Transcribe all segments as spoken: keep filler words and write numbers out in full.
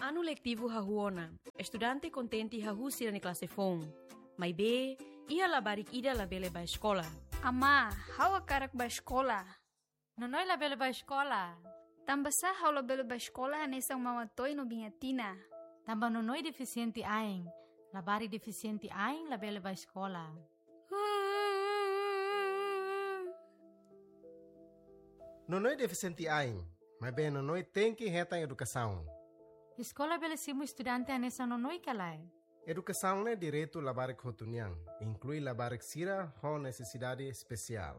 Anu letivu hahú ona. Estudante kontente hahú sira-nia klase foun. Maibé, iha labarik ida labele bá eskola. Amá, ha'u hakarak bá eskola. Nonoi labele bá eskola. Tanbasá ha'u labele bá eskola hanesan Mama Toy no Biña Tina? Tanba Nonoi defisiente ain. Labarik defisiente ain labele bá eskola. Nonoi defisiente ain, maibé Nonoi tenke hetan edukasaun. Eskola bele simu estudante hanesan Nonoi ka lae? Edukasaun ne'e direitu labarik hotu nian, inklui labarik sira ho nesesidade espesiál.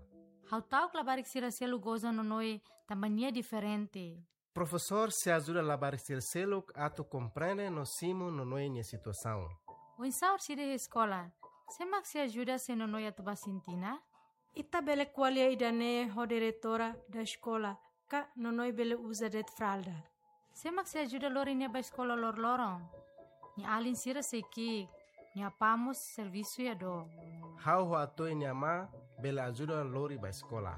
Ha'u ta'uk labarik sira seluk goza Nonoi tanba nia diferente. Profesór sei ajuda labarik sira seluk atu komprende no simu Nonoi nia situasaun. Oinsá orsida iha eskola, sé mak sei ajuda se Nonoi atu bá sintina? Ita bele ko'alia ida-ne'e ho diretora da eskola, ka Nonoi bele uza de'it fralda. Sé mak sei ajuda lori nia bá eskola loroloron? Nia alin sira sei ki'ik, nia apá mós servisu iha dook. Ha'u ho Atoy nia amá bele ajuda lori bá eskola.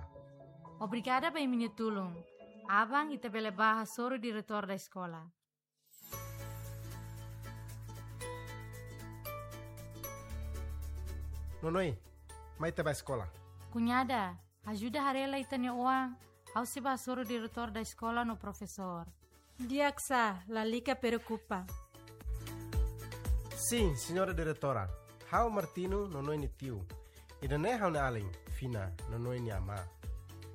Obrigada ba imi-nia tulun. Aban ita bele bá hasoru diretór da eskola. Nonoi, mai ita bá eskola. Kuñada, ajuda haree lai ita-nia oan, ha'u sei bá hasoru diretór da eskola no profesór. Di'ak sá, lalika preokupa. Sin, señora diretora. Ha'u Martino, Nonoi nia tiu. Ida-ne'e ha'u-nia alin, Fina, Nonoi nia amá.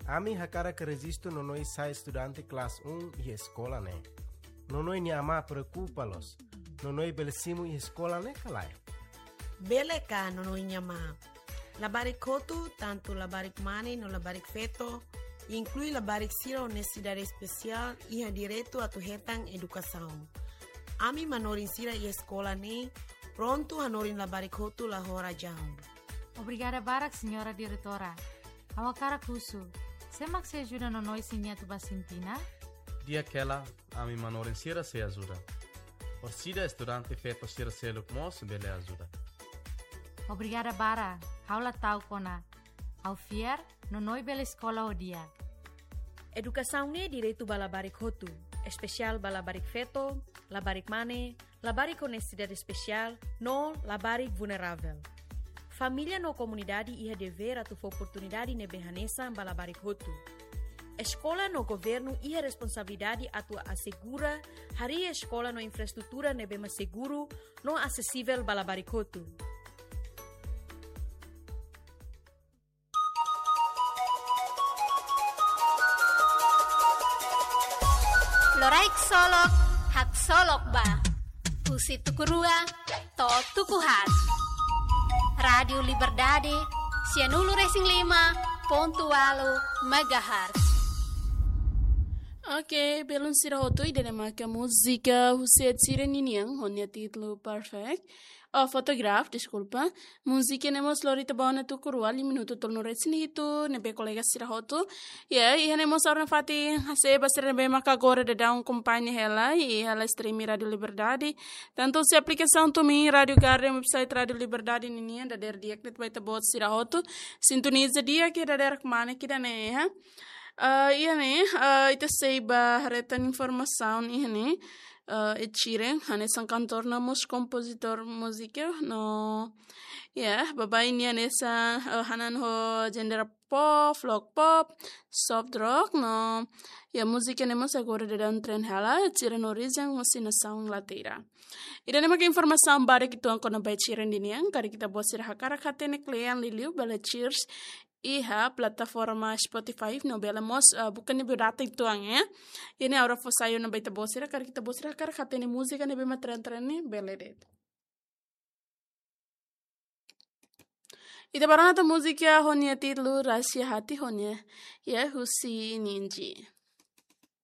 Ami hakarak rejistu Nonoi sai estudante klase um iha eskola ne'e. Nonoi nia amá preokupa loos. Nonoi bele simu iha eskola ne'e ka lae? Bele ka, Nonoi nia amá? Labarik hotu, tantu labarik mane no labarik feto, inklui labarik sira ho nesesidade espesiál, iha direitu atu hetan edukasaun. Ami manorin sira iha eskola ne'e prontu hanorin labarik hotu la ho razaun. Obrigada barak, señora diretora. Ha'u hakarak husu, sé mak sei ajuda Nonoi se nia atu bá sintina? Di'ak hela, ami manorin sira sei ajuda. Orsida estudante feto sira seluk mós bele ajuda. Obrigada barak, ha'u la ta'uk ona. Ha'u fiar, Nonoi bele eskola ho di'ak. Edukasaun ne'e direitu ba labarik hotu, espesiál ba labarik feto, labarik mane, labarik ho nesesidade espesiál, no labarik vulneravel. Família no komunidade iha devér atu fó oportunidade ne'ebé hanesan ba labarik hotu. Eskola no governu iha responsabilidade atu asegura harii eskola no infraestrutura ne'ebé mak seguru no asesivel ba labarik hotu. Loraik solok, haksolok ba. Husi tuku rua to'o tuku haat. Rádiu Liberdade, sianulu resin lima pontu ualu megahertz. Oke, belun sira hotu, ida-ne'e maka múzika husi Ed Sheeran ninian, ho nia títulu Perfect. Oh, Photograph, deskulpa. Múzika ne'e mós lori ita ba ona tuku rua, liu minutu tolunulu resin hitu, ne'ebé kolega sira hotu. Ya, iha ne'e mós ha'u nafatin hasai ba sira ne'ebé maka agora daudaun akompaña hela, iha live stream Rádiu Liberdade. Tantu husi aplikasaun TuneIn, Rádiu Garden, website Rádiu Liberdade ninian, dadeer di'ak de'it ba ita-boot sira hotu. Sintoniza di'ak iha dadeer kmane ida-ne'e, ha. Ah, iha ne'e, ah, ita sei bá haree tan informasaun iha ne'e, ah, Ed Sheeran, hanesan kantór no mós kompozitór múzika, no, ya, baibain nia hanesan, ah, hanan ho genre pop, folk pop, soft rock, no, ya, múzika ne'e mós agora daudaun trend hela, Ed Sheeran orijen husi nasaun Inglaterra. Ida-ne'e maka informasaun badak uitoan kona-ba Ed Sheeran ninian, karik ita-boot sira hakarak hatene kle'an liuliu, bele search iha plataforma Spotify no bele mós, eh, buka nia biodata uitoan, ya. Iha ne'e ha'u fó sai ona ba ita-boot sira, karik ita-boot sira hakarak hatene múzika ne'ebé mak trend-trend ne'e bele de'it. Ita bá rona tan múzika ho nia títulu Rahasia Hati ho nia, ya, husi Ninji.